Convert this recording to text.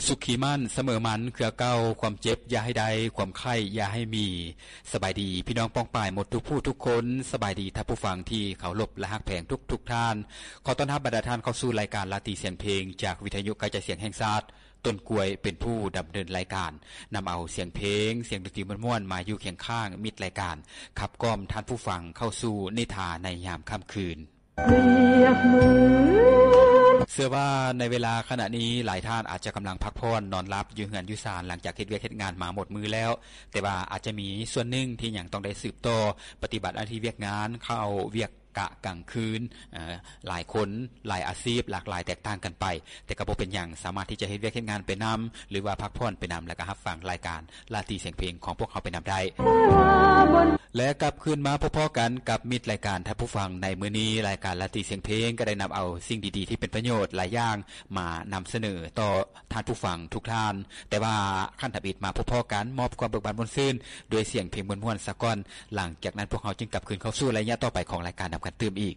ສຸຂີໝັ້ນສະເໝີໝັນເຄືອເກົ່າ, ຄວາມເຈັບຢ່າໃຫ້ໄດ້, ຄວາມໄຂ້ຢ່າໃຫ້ມີ. ສະບາຍດີພີ່ນ້ອງປ້ອງປາຍໝົດທຸກຜູ້ທຸກຄົນ, ສະບາຍດີທ່ານຜູ້ຟັງທີ່ເຄົາລົບ ແລະ ຮັກແພງທຸກໆທ່ານ. ຂໍຕ້ອນຮັບບັນດາທ່ານເຂົ້າສູ່ລາຍການລາຕີສຽງເພງ ຈາກວິທະຍຸກະຈາຍສຽງແຫ່ງຊາດ. ຕົ້ນກ້ວຍເປັນຜູ້ດຳເນີນລາຍການ, ນຳເອົາສຽງເພງ, ສຽງດົນຕີມ່ວນໆ ມາຢູ່ຄຽງຂ້າງມິດລາຍການ, ຂັບກ່ອມທ່ານຜູ້ຟັງເຂົ້າສູ່ນິທາໃນຍາມຄ່ຳຄືນ. ເຊື່ອວ່າໃນເວລາຂະນະນີ້ ຫຼາຍທ່ານອາດຈະກຳລັງພັກຜ່ອນນອນຫຼັບຢູ່ເຮືອນຢູ່ຊານ ຫຼັງຈາກເຮັດວຽກເຮັດງານມາໝົດມື້ແລ້ວ, ແຕ່ວ່າອາດຈະມີສ່ວນໜຶ່ງທີ່ຍັງຕ້ອງໄດ້ສືບຕໍ່ປະຕິບັດໜ້າທີ່ວຽກງານ, ເຂົ້າວຽກກະກາງຄືນ, ເອີ ຫຼາຍຄົນ, ຫຼາຍອາຊີບ, ຫຼາກຫຼາຍແຕກຕ່າງກັນໄປ, ແຕ່ກໍບໍ່ເປັນຫຍັງ, ສາມາດທີ່ຈະເຮັດວຽກເຮັດງານໄປນຳ ຫຼືວ່າພັກຜ່ອນໄປນຳ ແລະກໍຮັບຟັງລາຍການລາຕີສຽງເພງຂອງພວກເຮົາໄປນຳໄດ້. ແລະກັບຄືນມາພົບພໍ້ກັນກັບມິດລາຍການທ່ານຜູ້ຟັງໃນມື້ນີ້, ລາຍການລາຕີສຽງເພງກໍໄດ້ນຳເອົາສິ່ງດີໆທີ່ເປັນປະໂຫຍດຫຼາຍຢ່າງມານຳສະເໜີຕໍ່ທ່ານຜູ້ຟັງທຸກທ່ານ. ແຕ່ວ່າຂັ້ນທຳອິດມາພົບພໍ້ກັນ, ມອບຄວາມເບີກບານມ່ວນຊື່ນດ້ວຍສຽງເພງມ່ວນໆສາກ່ອນ, ຫຼັງຈາກນັ້ນພວກເຮົາຈຶ່ງກັບຄືນເຂົ້າສູ່ໄລຍະຕໍ່ໄປຂອງລາຍການນຳກັນຕື່ມອີກ.